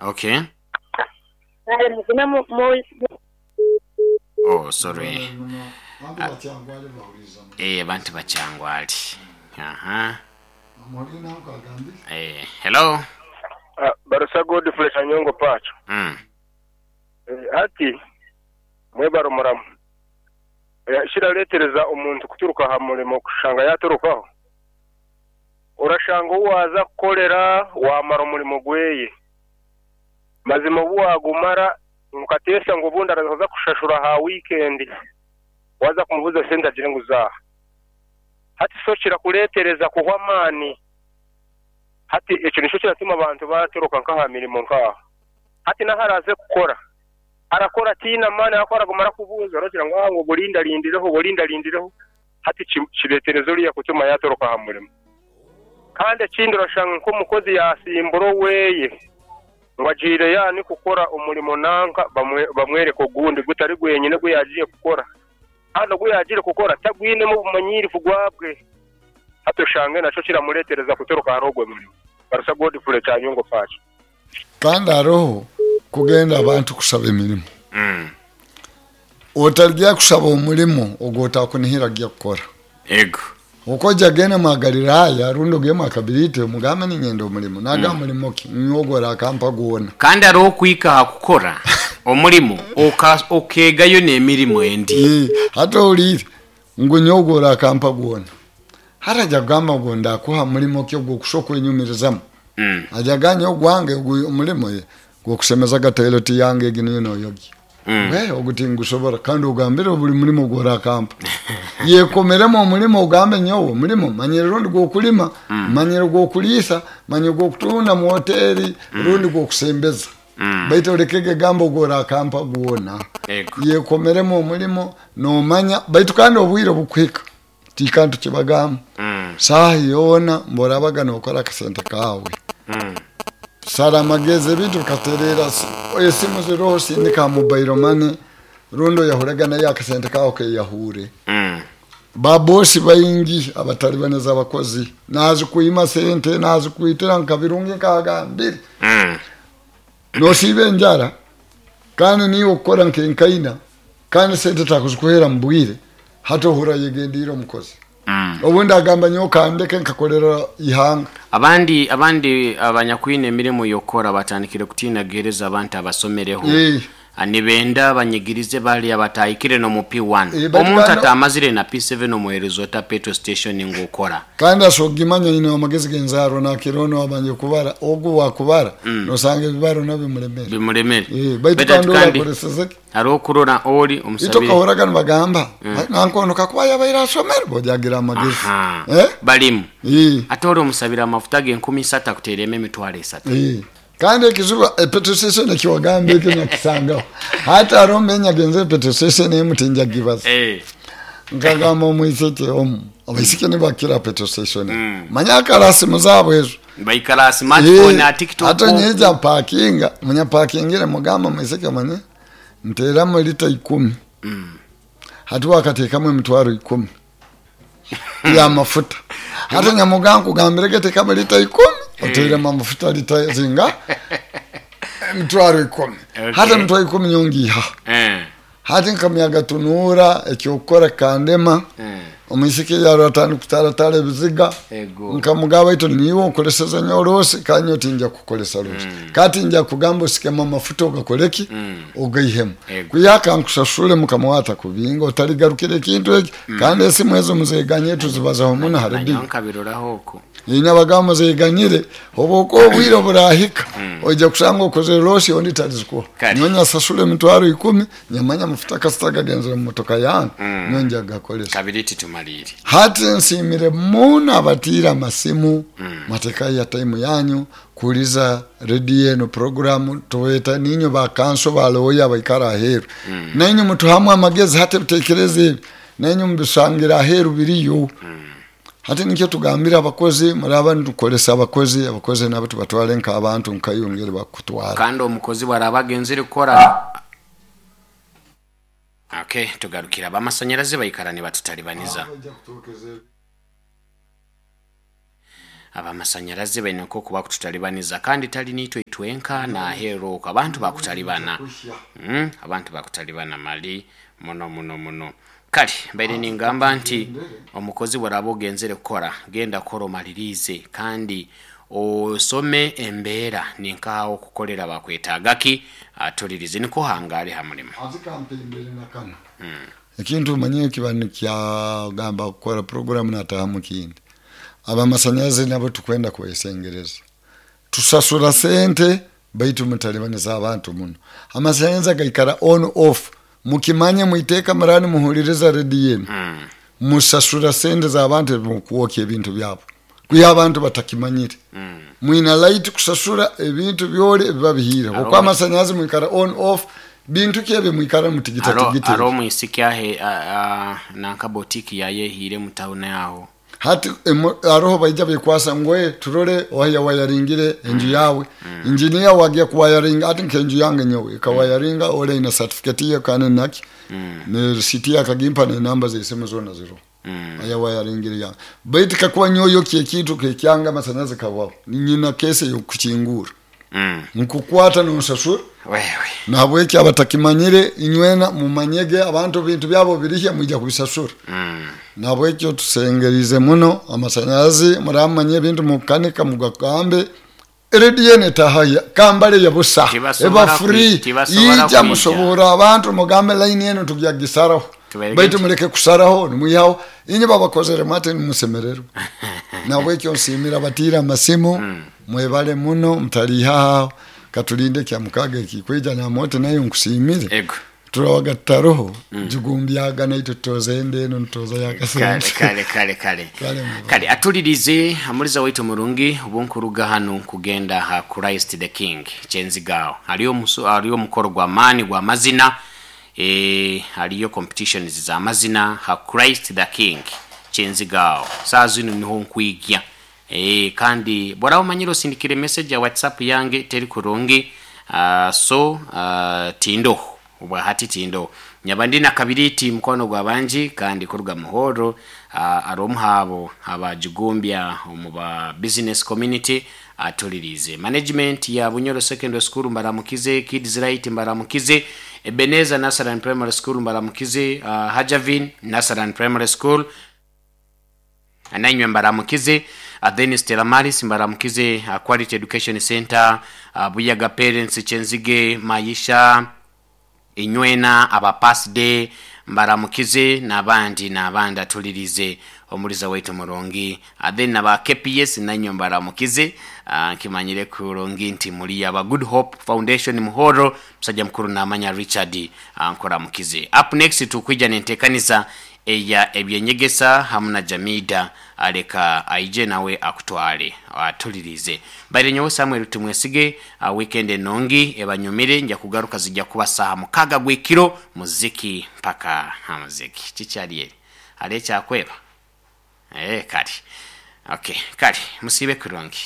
Okay. Kale mugume mu mu. Oh sorry. Eh abantu bakyangwali. Aha. Eh hello. Barusa Godfrey Kanyongo Pacho. Hati mwebare omuramu. Ekiraleetereza omuntu kuturuka aha murimo kushanga yaaturukaho, orashanga ou waaza kukorera waamara omurimo gweye. Mazima obu waagumara mukateesa ngu obundi araza kukushashura aha wiikendi, waaza kumubuuza esente agire ngu zaaha. Hati so kirakureetereza kuhwa amaani. Hati ekyo nikyo kiratuma abantu baatoroka nk'aha mirimo nk'aho. Hati n'ahu araaze kukora, arakora ataine amaani ahakuba araguma arakubuuza oragira ngu ngu orindarindireho, orindarindireho. Hati kireetereza oriya kutuma yaatoroka aha murimo. Kandi ekindi orashanga nk'omukozi yaasimbura oweye ngu agiire yaani kukora omurimo nanka bamwereka ogundi gutari gwenyine ogu yaagiire kukora. Kandi ogu yaagiire kukora tagwinemu obumanyiirivu gwabwe. Hati oshange nakyo kiramureetereza kutoroka ahari ogwo murimo. Barusa Godfrey Kyanyongo Pacho. Kandi haroho kugenda abantu kusaba emirimo. Otaligya kusaba omulimo ogw'otakunihira kugya kukora. Ego. Oku oja genda mwa Galiraaya rundi ogende mwa Kabiriti omugambe ninyenda omulimo. Nagamba mulimo ki? Nyowe ogu orakampa gwona. Kandi haroho okuhika ha kukora omulimo okeegayo n'emirimo endi. Hati ohuliire ngu nyowe ogu orakampa gwona. Hati aja kugamba ngu ndakuha mulimo ki ogw'okusobora kwenyumirizamu? Aja kugamba nyowe ogwange ogu omulimo gw'okusemezaga toilet yange egi niyo noyogya. Ogu tingusobora kandi ogambire buli mulimo ogw'orakampa. Yekomeremu omulimo ogambe nyowe omulimo manyire rundi gw'okulima, manyire gw'okuliisa, manyire gw'okutunda mu hoteri rundi gw'okusembeza. Baitu olekege gamba ogw'orakampa gwona. Yekomeremu omulimo nomanya baitu kandi obwire obukuhika tikantu kibagamba. Saaha yoona mborabaga nokora akasente kaawe. Sara amagezi ebintu bikatereera esimu ziroho sindika ha mobile money rundi oyahurege nayo akasente kaawe keyahuure. Ba bosi baingi abatalibaniza abakozi nazikwima sente nazikwitira nka Birungi nkagambire. Nosiiba enjara kandi niiwe okukora nk'enkaina kandi sente takuzikuheera mu bwire hati ohurra ayegendiire omukozi. Obundi agamba nyowe kandeke nkakolera ihanga. Abandi abandi abanyakwine emirimo y'okukora batandikire kutiina kuheereza abantu abasomereho. Nibenda banyigirize bali abatahikire n'omu P1. Baitu Omuntu kandi atamazire na P7 omuheereza ota petrol station ngu okora? Kandi asobora kugimanya aine amagezi g'enzaarwa nakira onu owabanje kubara, ogu owakubara nosanga ebibaro nabyo bimulemere. Bimulemere. Baitu Baitu kandi ori kandi akoreseze ki? Haroho okurora ori Itwe omusabire. okahoraga nibagamba nanka onu kakuba yabaire asomere boja agira amagezi. Aha. Balimu. Ate ori omusabire amafuta g'enkumi isatu akuteeremu emitwaro esatu. Kandi ekizibu petrol station ekiwagamba ekyo nyakisangaho. Hati haroho mbe nyagenzere petrol station emu tinjagibaza. Nkagamba omwisiki omu, abaisiki nibakira petrol station. Manya akara simu zaabo ezo. Baikara aha smartphone, aha TikTok. Hati nyija mpakinga, munya mpakingire mugamba omwisiki omanye nteeramu lita 10. Hati wakateekamu emitwaro 10 y'amafuta. Hati nyamugamba nkugambirege teekamu lita 10, oteiremu amafuta lita zinga? Emitwaro 10. Hati emitwaro 10 nyowe ngiihaha. Hati nkamyaga tunuura eky'okukora kikandema. Omwisiki yarora atandika kutaratara ebiziga. Nkamugamba baitu niiwe onkoleseze nyowe loosi kandi nyowe tinja kukukolesa loosi. Kandi tinja kugamba osikemu amafuta ogakole ki? Ogaihemu. Kwiha kankusasule mukama wawe atakubinga otaligarukira ekintu eki. Kandi esimu ezo muzeganyire tuzibazaho muno ha rediyo. Nanyowe nkabiroraho oku. Inywe abagamba muzeganyire obu okuba obwire oburahika oija kusanga okozere loosi ondi talizikuha. Nyowe nyasasula emitwaro 10 nyamanya amafuta kasita gagenzere mu motoka yange nyowe nja kugakolesa. Kabiriti tumaliire. Hati nsiimire muno abatiire amasimu mwatekayo ya time yanyu kuhuliza rediyo enu puroguramu tubeeta niinywe ba kanso ba looya abaikara aheeru. Nainywe mutuhamu amagezi hati ebiteekerezo ebi nainywe mubisangire aheeru biriyo. Hati nikyo tugambire abakozi muraba nitukolesa abakozi, abakozi nabo tubatwale nk'abantu nkaiwe ngeri bakukutwara. Kandi omukozi bwaraba agenzire kukora. Okay, tugarukire abamasanyarazi baikara nibatutalibanyiza. Abamasanyarazi baine nk'oku bakututalibaniza, kandi tali niitwe itwenka naheeru okwo abantu bakutalibana. Abantu bakutalibana mali muno muno muno. Kale mbaire ningamba nti omukozi bworaba ogenzere kukora, genda kora omaliriize, kandi osome embeera ninkaha okukorera bakwetaaga ki, atulirize nikwo ohangare ha mulimo. Azikampembere na kanu ekintu omanyire kiba nikyagamba kukora programu natahamu kindi. Abamasanyarazi nabo tukwenda kwesengereza, tusasura sente baitu mutalibaniza abantu muno. Amasanyarazi gaikara on off, mukimanye mwiteeka murani muhuliriza rediyo enu, musasura sente z'abantu ebimukwokya ebintu byabo, kwiha abantu batakimanyire. Mwina light kusasura ebintu byoli ebiba bihiire, okwo amasanyarazi mwikara on off, bintu ki ebyo mwikara mutigita tigita. Haro omwisiki ahe nanka boutique yaye ehiire mu town aho. Hati haroho baija bekwasa ngu turole oha yawayaringire enju yawe. Engineer wagya kuwayaringa hati nkenju yange nyowe ekawayaringa oli aine certificate ye kandi naki ne receipt ye akagimpa nenamba zesimu zona ziroho ayawayaringire yange. Baitu kakuba nyowe yokya ekintu kekyanga amasanyarazi kahwaho, nyina kesi eyokukingura. Nkukwata nonsasura. Nahabweki abatakimanyire inywena mumanyege abantu ebintu byabo birihya mwija kubisasura. Nahabwekyo tusengerize muno amasanyarazi, muramanya ebintu mukanika mugagambe. Rediyo eno etahahya kambale ya busa eba free, ija musoborra abantu mugambe line eno tugya gisaraho, baitu muleke kusaraho nimwihaho inye babakozere mwati nimusemererwa. Nahabwekyo nsiimira abatiire amasimu, mwebale muno mutaliihaho aho, katulinde ekya mukaga ekikwija namote nayo nkusiimire. Turabaga tutaroho jugumbyaga naitwe tutoza enda eno nitutoza yakasente. Kale kale kale kale atulirize amuliza waitu murungi obunkuruga hanu kugenda ha Christ the King kyenzigaho hariyo omukoro gwa maani gwa mazina, hariyo competitions za mazina ha Christ the King kyenzigaho saa zinu niho nkwigya. Kandi bworaba omanyire osindikire message ya WhatsApp yange teri kurungi, so tindoho obwahati tindoho. Nyaba ndi na Kabiriiti mukwano gwa bangi kandi kuruga Muhoro, ari omu haabo abajugumbya omu ba business community atuliriize. Management ya Bunyoro Secondary School mbaramukize, Kids Right mbaramukize, Ebenezer Nursery and Primary School mbaramukize, Hajavin Nursery and Primary School nainywe mbaramukize, then Stella Maris mbaramukize, Quality Education Center, Buyaga Parents Kyenzige Maisha inywena aba Pasday mbaramukize n'abandi n'abandi atulirize omuliza waitu murungi, then naba KPS nainywe mbaramukize, nkimanyire kurungi nti muri aba Good Hope Foundation Muhoro musajja mukuru namanya Richard, nkuramukize. Up next tukwija nentekaniza eya ebyenyegesa hamu na Jamida, aleka aije nawe akutwale atulirize. Mbaire nyowe Samuel Tumwesige, weekend enongi ebanyumire, nja kugaruka zijja kuba saha 6 gw'ekiro muziki mpaka ha muziki. Kikyali eri hali ekyakweba? Kale. Okay, kale musiibe kurungi.